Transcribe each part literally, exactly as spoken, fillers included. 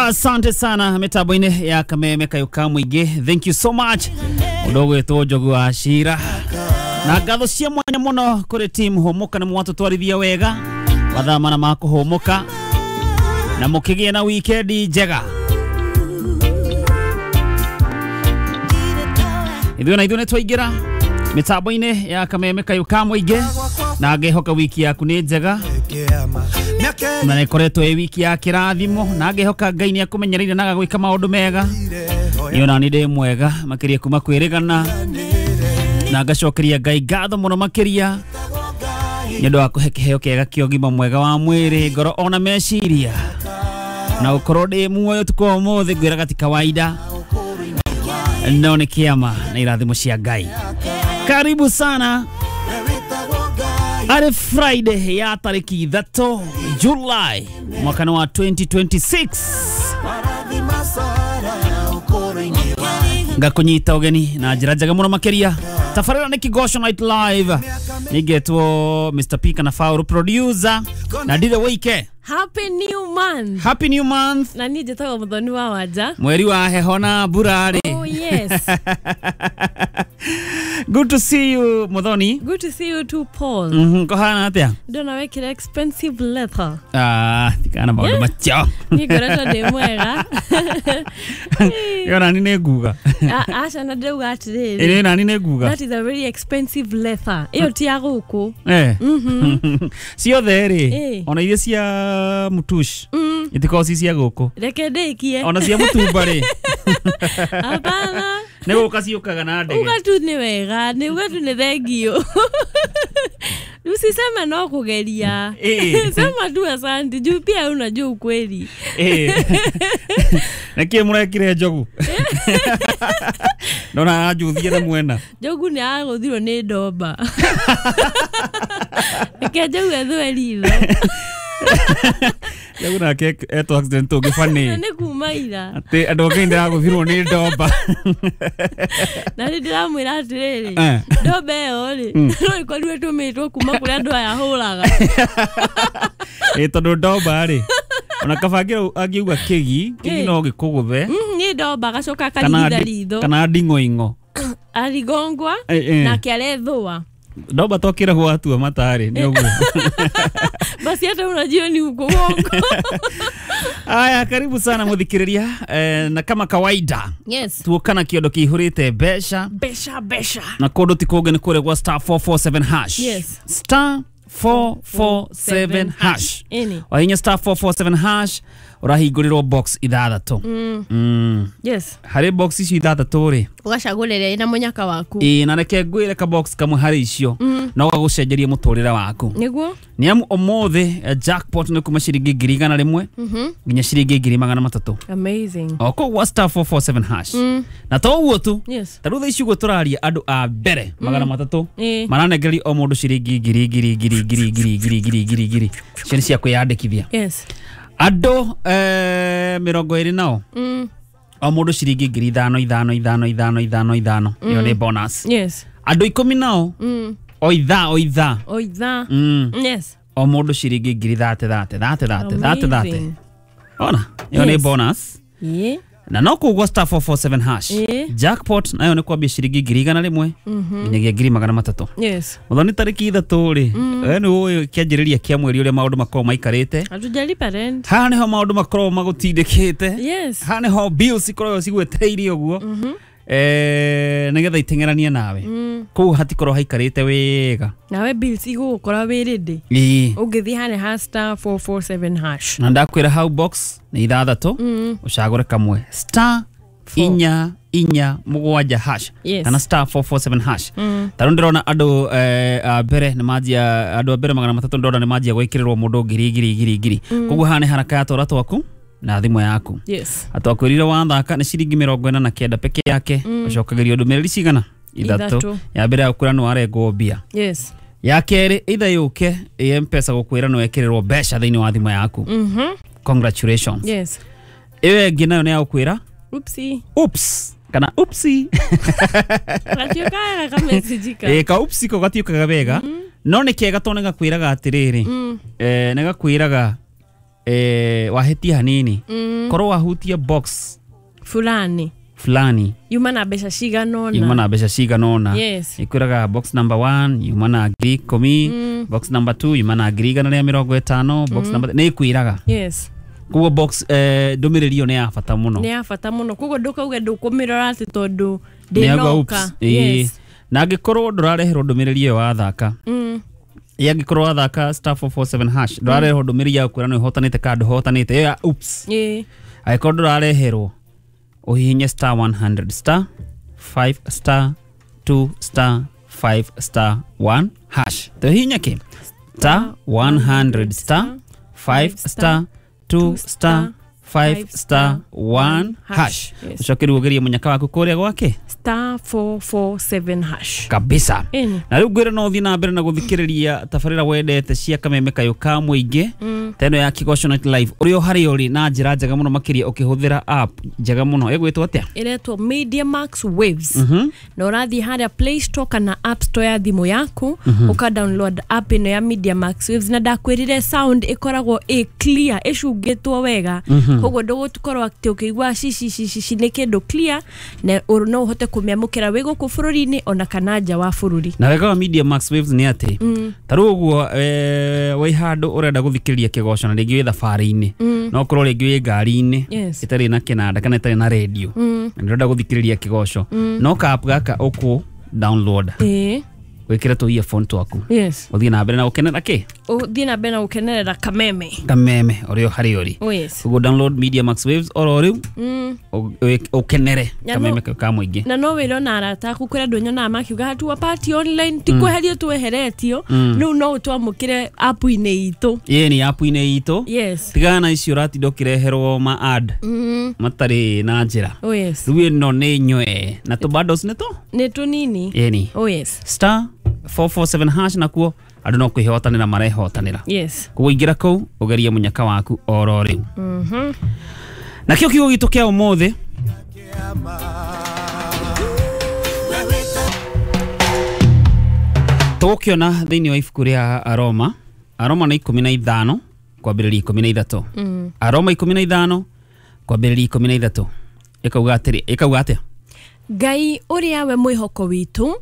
Asante sana mitambo-inĩ ya Kameme Kayuka Mũingĩ. Thank you so much. Mũndũ ũgwĩtwo Njogu wa Cira. Na ngatho cia mwanya mũno kũrĩ team Hũmũka nĩ mwatũtwarithia wega mathaa mana ma kũhũmũka na mũkĩgĩe na wikendi njega. Ithuĩ na ithuĩ nĩ twaingĩra mitambo-inĩ ya Kameme Kayuka Mũingĩ na ngehoka wiki yaku nĩ njega na nĩkoretwo ĩ wiki ya kĩrathimo na ngehoka Ngai nĩ akũmenyereire na agagwĩka maũndũ mega. Niĩ ona nĩ ndĩ mwega makĩria kuma kwĩrĩgana na ngacokeria Ngai ngatho mũno makĩria nĩ ũndũ wa kũhe kĩheo kĩega kĩa ũgima mwega wa mwĩrĩ, ngoro ona meciria na gũkorwo ndĩ muoyo ũtukũ wa ũmũthĩ ngwĩraga ti kawaida no nĩ kĩama na irathimo cia Ngai. Karibu sana. Ari Friday ya tariki ithatũ July mwaka wa twenty twenty-six. Ngakunyita ũgeni na njĩra njega mũno makĩria. Tabarĩra nĩ Kigosho Night Live. Nĩngetwo Mister P kana Faulu producer na Ndithe Wike. Happy new month. Happy new month. Na niĩ njĩtagwo Muthoni wa Wanja. Mweri wa heho na mbura rĩ. Oh yes. Good to see you Muthoni. Good to see you too Paul. Mhm, kũhana atĩa? Ndona wekĩra expensive leather. Ah, tikana maũndũ macio. Niĩ ngoretwo ndĩ mwega. Ĩyo nani nĩ nguga. Aca na ndĩrauga atĩrĩrĩ. Ĩĩ nani nĩ nguga. That is a very expensive leather. Ĩyo ti ya gũkũ. Eh. Mhm. Ciothe rĩ, ona iria cia mutush itikoragwo ci cia gũkũ. Reke ndĩkie. Ona cia mũtumba rĩ. Hapana. Nĩ gũka ciũkaga na ndege. Uga tu nĩ wega, nĩ uga tu nĩ thengio. Usiseme no kugeria. Sema tu asante juu pia unajua ukweli. Eh. Nĩkĩ mũrekire Njogu? Ndona aranjuthia na mwena. Njogu nĩ agũthirwo nĩ ndomba. Reke Njogu ethwe ritho. Njogu nake etwo accident ũngĩ funny. Nĩ kuma ira. Atĩ andũ angĩ ndĩragũthirwo nĩ ndomba. Na nĩ ndĩramwĩra atĩrĩrĩ, ndomba ĩyo rĩ, no ĩkorirwo ĩtũmĩtwo kuma kũrĩa andũ aya hũraga. Ĩ tondũ ndomba rĩ, ona kaba angiuga kĩgi, kĩgi no gĩkũgũthe. Nĩ ndomba agacoka akarigitha ritho. Kana nding'oing'o. Arigongwa na akĩarethũa. Ndomba to kĩrahwo atua matarĩ nĩ ũguo. Basi hata unajua ni uko uongo. Aya, karibu sana muthikiriria eh, na kama kawaida. Yes. Tuokana kiondo kihurite mbeca. Mbeca mbeca. Na kundu ti kũngĩ nĩ kũrĩa gwa star four four seven hash. Yes. Star four four seven hash. Ĩni. Wahinya star four four seven hash ũrahingũrĩrwo box ithathatũ. Mm. Mm. Yes. Harĩ box icio ithathatũ rĩ, ũgacagũrĩra ĩna mũnyaka waku. Ĩĩ, na reke ngwĩre ka box kamwe harĩ icio mm. no gagũcenjerie mũtũrĩre waku. Nĩguo. Nĩ amu ũmũthĩ jackpot nĩ kuma ciringi ngiri igana rĩmwe nginya ciringi ngiri magana matatũ. Amazing. O kũu gwa star four four seven hash. Mm. Na to ũguo tu. Yes. Ta rĩu thaa ici ũguo tũraria andũ a mbere magana matatũ mm. maranengeria o mũndũ ciringi ngiri ngiri ngiri ngiri ngiri ngiri ngiri ngiri ngiri icio nĩ cia kwĩyandĩkithia. Yes. Andũ eh, mĩrongo ĩrĩ nao mm. o mũndũ ciringi ngiri ithano ithano ithano ithano ithano ithano ĩyo nĩ bonus. Yes. Andũ ikũmi nao mm. o ithaa o ithaa o ithaa mm. Yes. O mũndũ ciringi ngiri thate thate thate thate thate thate. Ona ĩyo nĩ bonus. Yeah. Na no kũu gwa star four four seven hash. Yeah. Jackpot nayo nĩ kwambia ciringi ngiri igana rĩmwe nginyagia ngiri magana matatũ. Yes. Muthoni tarĩki ithatũ rĩ, we nĩ ũĩ kĩanjĩrĩria kĩa mweri ũrĩa maũndũ makoragwo maikarĩte. Hatujalipa rent. Haha nĩho maũndũ makoragwo magũtindĩkĩte. Yes. Haha nĩho bills ikoragwo cigwetereire ũguo. Eh, nĩgetha iteng'eranie nawe. Kũu hatikorwo haikarĩte wega. Nawe bills igũgũkora wĩ ready. Ĩĩ. Ũngĩthiĩ harĩa ha star four four seven hash. Na ndakwĩra hau box nĩ ithathatũ ũcagũre kamwe star inya inya mũgwanja hash Yes. kana star four four seven hash. Mm. Ta rĩu ndĩrona andũ eh, a mbere nĩ manjia andũ a mbere magana matatũ ndĩrona nĩ manjia gwĩkĩrĩrwo mũndũ ngiri ngiri ngiri ngiri. Koguo haha nĩ haraka ya twara twaku na thimũ yaku. Yes. Atwakwĩrire wathaka nĩ ciringi mĩrongo ĩna na kenda peke yake ũcokagĩrio ndũmĩrĩri cigana ithatũ. Ithatũ. Ya mbere ya gũkwĩra nĩ warengwo mbia. Yes. Ya kerĩ either yũke ĩ M-Pesa gũkwĩra nĩ wekĩrĩrwo mbeca thĩinĩ wa thimũ yaku. Mhm. Congratulations. Yes. Ĩyo ĩngĩ nayo nĩ ya gũkwĩra Oopsie. oops kana oopsie. Gatiũkaga ka message ka. Ĩ ka oopsie ko gatiũkaga wega no nĩ kega tondũ nĩ gakwĩraga atĩrĩrĩ Mm. eh nĩ gakwĩraga eh, wahetia hanini mm. korwo wahutia box fulani fulani yuma na mbeca cigana ũna yuma na mbeca cigana ũna. Yes. Ikwĩraga box number one yuma na ngiri ikũmi, mm. box number two yuma na ngiri igana rĩa mĩrongo ĩtano, box mm. number nĩ ĩkwĩraga. Yes. Koguo box eh, ndũmĩrĩri ĩyo nĩ ya bata mũno. Nĩ ya bata mũno, koguo ndũkauge ndũkũmĩrora atĩ tondũ ndĩnoka. Yes. Na angĩkorwo ndũrareherwo ndũmĩrĩri ĩyo wathaka, mm. angĩkorwo wathaka star four four seven hash ndũrareherwo ndũmĩrĩri ya gũkwĩra nĩ ũhotanĩte kana ndũhotanĩte, ĩyo ya oops. Ĩĩ. Angĩkorwo ndũrareherwo uhihinye star one hundred star five star two star five star one hash. Tuhihinye ki star one hundred star five star two star five star one hash. Ucoke rĩu ũgerie mũnyaka waku kũrĩa gwake star four four seven hash kabisa. Na rĩu ngwĩra no ũthiĩ na mbere na gũthikĩrĩria tabarĩra wendete cia Kameme Kayũ ka Mũingĩ, ta ĩno ya Kĩgoco Night Live ũrĩa harĩa ũrĩ na njĩra njega mũno makĩria ũkĩhũthĩra app njega mũno ĩgwĩtwo atĩa? Ĩretwo Media Max Waves. mm -hmm. Na ũrathiĩ harĩa Play Store kana App Store ya thimũ yaku, mm -hmm. ũka download app ĩno ya Media Max Waves, na ndakwĩrire sound ĩkoragwo ĩ clear, ĩcungĩtwo wega. mm -hmm. Koguo ndũgũkorwo atĩ ũkĩigua ci ci ci ci nĩ kĩndũ clear, na no ũhote kũmĩamũkĩra wĩ gũkũ bũrũri-inĩ ona kana nja wa bũrũri. Na wega wa Media Max Waves nĩ atĩ ta rĩu ũguo wĩ handũ ũrenda gũthikĩrĩria kĩgoco na rĩngĩ wĩ thabarĩ-inĩ, no ũkorwo rĩngĩ wĩ ngari-inĩ ĩtarĩ na kĩnanda kana ĩtarĩ na radio, na ndũrenda gũthikĩrĩria kĩgoco, no ka app gaka ũkũ download wĩkĩre tũ earphone twaku. Yes. Ũthiĩ na mbere na gũkenera kĩ? Ũthiĩ na mbere na gũkenerera Kameme. Kameme ũrĩa harĩa ũrĩ. Oh yes. Ũguo download Media Max Waves oro rĩu ũkenere Kameme ka Mũingĩ. Na no wĩre ona arata aku, kũrĩ andũ nyonaga makiuga hatua party online ti kweherio tweheretio, rĩu no ũtwamũkĩre app-inĩ itũ. Ĩĩ nĩ app-inĩ itũ. Yes. Tigana na icio ũratinda ũkĩreherwo ma ad matarĩ na njĩra. Oh yes. Rĩu ĩno nĩ nywe na tũ bundles nĩ tũ? Nĩ tũnini. Ĩĩ. Oh yes. Star four four seven hash nakuo andũ no kwĩhotanĩra marehotanĩra. Yes. Koguo ingĩra kũu ũgerie mũnyaka waku oro rĩu. Mhm. Na kĩo kiugo gitũ kĩa ũmũthĩ tũgũkĩona thĩinĩ wa ibuku rĩa Aroma, Aroma nĩ ikũmi na ithano kwambĩrĩria ikũmi na ithatũ. Aroma ikũmi na ithano kwambĩrĩria ikũmi na ithatũ ĩkauga atĩrĩ, ĩkauga atĩa? Ngai ũrĩa we mwĩhoko witũ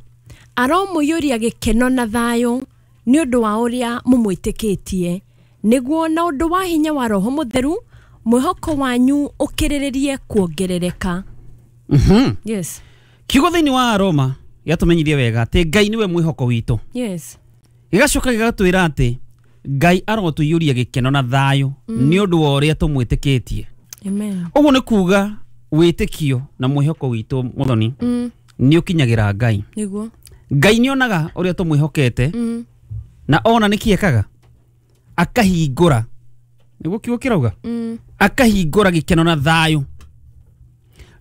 aromũiyũria gĩkeno na thayũ nĩ ũndũ wa ũrĩa mũmwĩtĩkĩtie, nĩguo na ũndũ wa hinya wa Roho Mũtheru mwĩhoko wanyu ũkĩrĩrĩrie kuongerereka. Mhm. Yes. Kiugo thĩinĩ wa Aroma gĩatũmenyithia wega atĩ Ngai nĩwe mwĩhoko witũ. Yes. Gĩgacoka gĩgatwĩra atĩ Ngai arotũiyũria gĩkeno na thayũ nĩ ũndũ wa ũrĩa tũmwĩtĩkĩtie. Amen. Ũguo nĩ kuga wĩtĩkio na mwĩhoko witũ Mũthoni nĩ ũkinyagĩra Ngai. Nĩguo. Ngai nĩonaga ũrĩa tũmwĩhokete, mm. na ona nĩkĩ ekaga akahingũra, nĩguo kiugo kĩrauga, mm. akahingũra gĩkeno na thayũ.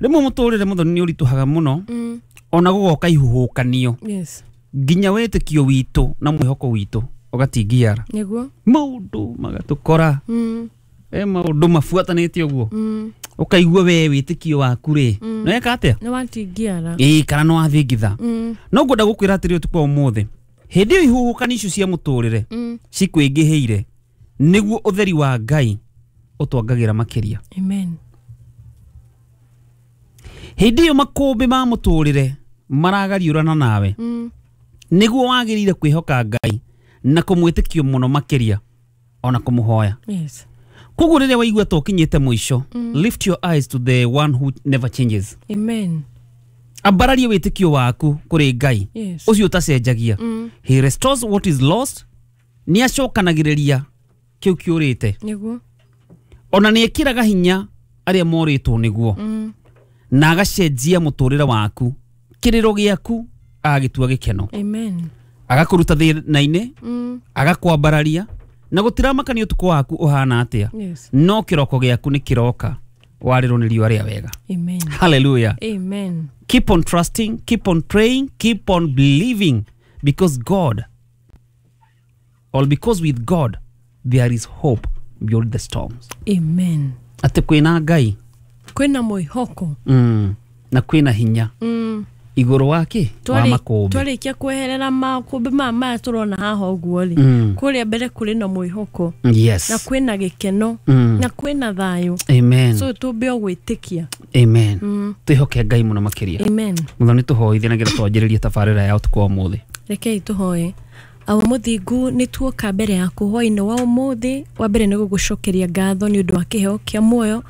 Rĩmwe mũtũrĩre Mũthoni nĩ ũritũhaga mũno, mm. ona gũgoka ihuhũkanio. Yes. Nginya wĩtĩkio witũ na mwĩhoko witũ ũgatingiara. Nĩguo. Maũndũ magatũkora, mm. e maũndũ mabuatanĩte ũguo, mm. ũkaigua we wĩtĩkio waku rĩ, mm. nĩ weka atĩa? Nĩ watingiara. Ĩĩ, kana nĩ wathingitha. Mm. No ngwenda gũkwĩra atĩrĩ ũtukũ wa ũmũthĩ, hĩndĩ ĩyo ihuhũkanio icio cia mũtũrĩre mm. cikũingĩhĩire, nĩguo ũtheri wa Ngai ũtwangagĩra makĩria. Amen. Hĩndĩ ĩyo makũmbĩ ma mũtũrĩre maragariũrana nawe, mm. nĩguo wagĩrĩire kwĩhoka Ngai na kũmwĩtĩkio mũno makĩria ona kũmũhoya. Yes. Koguo rĩrĩa waigua ta ũkinyĩte mũico, mm. lift your eyes to the one who never changes. Amen. Ambararia wĩtĩkio waku kũrĩ Ngai Yes. ũcio ũtacenjagia. Mm. He restores what is lost, nĩ acokanagĩrĩria kĩu kĩũrĩte. Nĩguo. Ona nĩ ĩkĩraga hinya arĩa morĩtwo nĩguo, mm. na agacenjia mũtũrĩre waku, kĩrĩro gĩaku agagĩtua gĩkeno. Amen. Agakũruta thĩna-inĩ, mm. agakwambararia, na gũtiramakania ũtukũ waku ũhana atĩa. Yes. No kĩroko gĩaku nĩ kĩroka warĩrwo nĩ riũa rĩa wega. Amen. Hallelujah. Amen. Keep on trusting, keep on praying, keep on believing, because God, or because with God there is hope beyond the storms. Amen. Atĩ kwĩna Ngai, kwĩna mwĩhoko, mm. na kwĩna hinya, mm. Igũrũ wa kĩ? Wa makũmbĩ. Twarĩkia kweherera makũmbĩ maya maya tũrona haha ũguo rĩ, Mm. kũrĩa mbere kũrĩ na mwĩhoko. Yes. Na kwĩna gĩkeno. Mm. Na kwĩna thayũ. Amen. So tũmbe o gwĩtĩkia. Amen. Mm. Twĩhoke Ngai mũno makĩria. Amen. Mũthoni tũhoithie na getha twanjĩrĩrie tabarĩra ya ũtukũ wa ũmũthĩ. Rekei tũhoe. Awa mũthingu nĩ tuoka mbere yaku hwaĩ-inĩ wa ũmũthĩ. Wa mbere nĩ gũgũcokeria ngatho nĩ ũndũ wa kĩheo kĩa muoyo,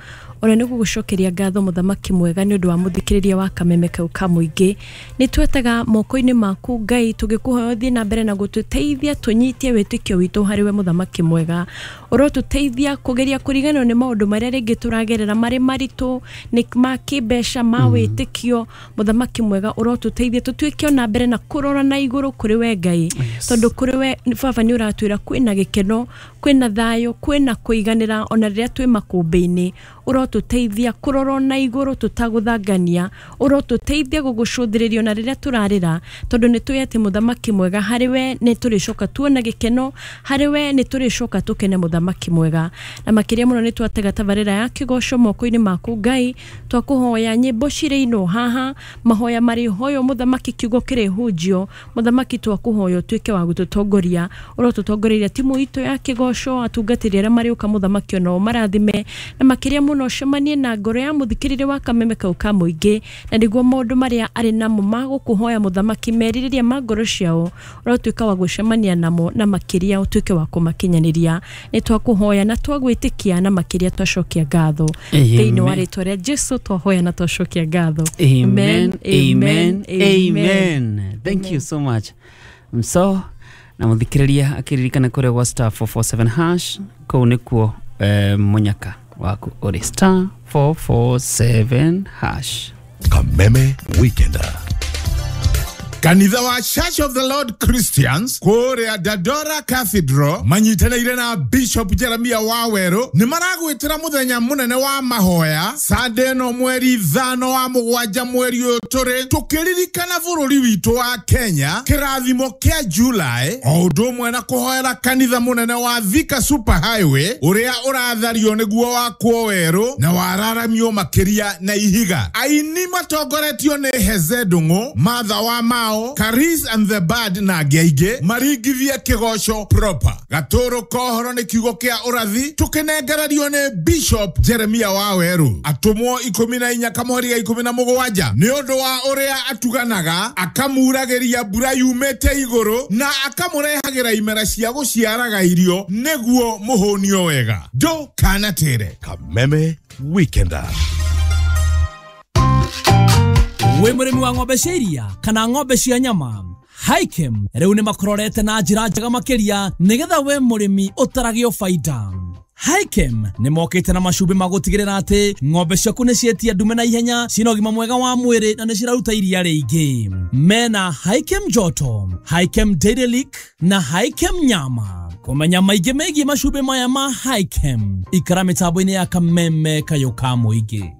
ona nĩ gũgũcokeria ngatho mũthamaki mwega nĩ ũndũ wa mũthikĩrĩria wa kameme kau ka mũingĩ. Nĩ twetaga moko-inĩ maku Ngai, tũgĩkũhoya ũthiĩ na mbere na gũtũteithia tũnyitie wĩtĩkio witũ harĩ we mũthamaki mwega. Ũrotũteithia kũgeria kũriganĩrwo nĩ maũndũ marĩa rĩngĩ tũragerera marĩ maritũ, nĩ ma kĩmbeca, ma wĩtĩkio. Mũthamaki mwega ũrotũteithia tũtuĩke ona mbere na kũrora na igũrũ kũrĩ we Ngai. Yes. Tondũ kũrĩ we baba nĩ ũratwĩra kwĩna gĩkeno, kwĩna thayũ, kwĩna kũiganĩra ona rĩrĩa twĩ makũmbĩ-inĩ. Ũrotũteithia kũrora na igũrũ tũtagũthangania, ũrotũteithia gũgũcũthĩrĩria ona rĩrĩa tũrarĩra, tondũ nĩ tũĩ atĩ mũthamaki mwega harĩ we nĩ tũrĩcoka tuona gĩkeno, harĩ we nĩ tũrĩcoka tũkene mũthamaki mwega. Na makĩria mũno nĩ twatega tabarĩra ya kĩgoco moko-inĩ maku Ngai, twakũhoya nyĩmbo cirĩinwo haha, mahoya marĩhoywo mũthamaki, kiugo kĩrĩhunjio mũthamaki, twakũhoya ũtuĩke wa gũtũtongoria. Ũrotũtongoreria timu itũ ya kĩgoco, atungatĩri arĩa marĩũka mũthamaki onao marathime, na makĩria mũno ũcemanie na ngoro ya mũthikĩrĩria wa kameme kau ka mũingĩ, na nĩguo maũndũ marĩa arĩ namo ma gũkũhoya mũthamaki, merirĩria ma ngoro ciao, ũrotuĩka wa gũcemania namo, na makĩria ũtuĩke wa kũmakinyanĩria. Nĩ twakũhoya na twagwĩtĩkia, na makĩria twacokia ngatho. Thĩinĩ wa rĩtwa rĩa Jesu twahoya na twacokia ngatho. Amen, amen, amen. Thank you so much. So na mũthikĩrĩria akĩririkana kũrĩa gwa star four four seven hash kũu nĩkuo eh, mũnyaka waku ũrĩ star four four seven hash. Kameme Weekender. Kanitha wa Church of the Lord Christians kũrĩa Dandora Cathedral manyitanĩire na Bishop Jeremia Waweru nĩ maragwĩtĩra mũthenya mũnene wa mahoya Sunday ĩno mweri ithano wa mũgwanja mweri ũyũ tũrĩ, tũkĩririkana bũrũri witũ wa Kenya kĩrathimo kĩa July, o ũndũ ũmwe na kũhoera kanitha mũnene wa Thika Super Highway ũrĩa ũrathario nĩguo wakwo werũ na wararamio makĩria na ihiga. Aini matongoretio nĩ Heze Ndung'u, Martha wa Mao, Caris and the Bad na angĩ aingĩ maringithie kĩgoco proper. Gatũrũ kohoro nĩ kiugo kĩa ũrathi tũkĩnengererio nĩ Bishop Jeremia Waweru. Atũmwo ikũmi na inya kamũhari ga ikũmi na mũgwanja nĩ ũndũ wa ũrĩa atuganaga, akamuragĩria mbura yumĩte igũrũ na akamũrehagĩra imera cia gũciaraga irio nĩguo mũhũnio wega. Ndũkanatĩre. Kameme Weekender. Wĩ mũrĩmi wa ng'ombe cia iria kana ng'ombe cia nyama, Hikem rĩu nĩ makũrorete na njĩra njega makĩria nĩgetha we mũrĩmi ũtaragio baida. Hikem nĩ mokĩte na macumbĩ ma gũtigĩrĩra atĩ ng'ombe ciaku nĩ cietia ndume na ihenya, ciĩna ũgima mwega wa mwĩrĩ na nĩ ciraruta iria rĩingĩ. Mena Hikem Joto, Hikem Dairy Lick na Hikem Nyama. Kũmenya maingĩ megiĩ macumbĩ maya ma Hikem, ikara mĩtambo-inĩ ya Kameme kayũ ka mũingĩ.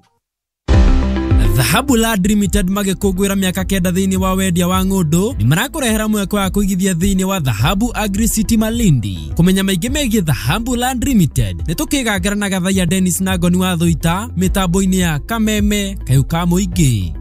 Dhahabu Land Limited magĩkũngũĩra mĩaka kenda thĩinĩ wa wendia wa ng'ũndũ nĩ marakũrehera mweke wa kũigithia thĩinĩ wa Dhahabu Agri City Malindi. Kũmenya maingĩ megiĩ Dhahabu Land Limited nĩ tũkĩgangara na Gathaiya Dennis na Ngoni wa Thũita mĩtambo-inĩ ya Kameme kayũ ka mũingĩ.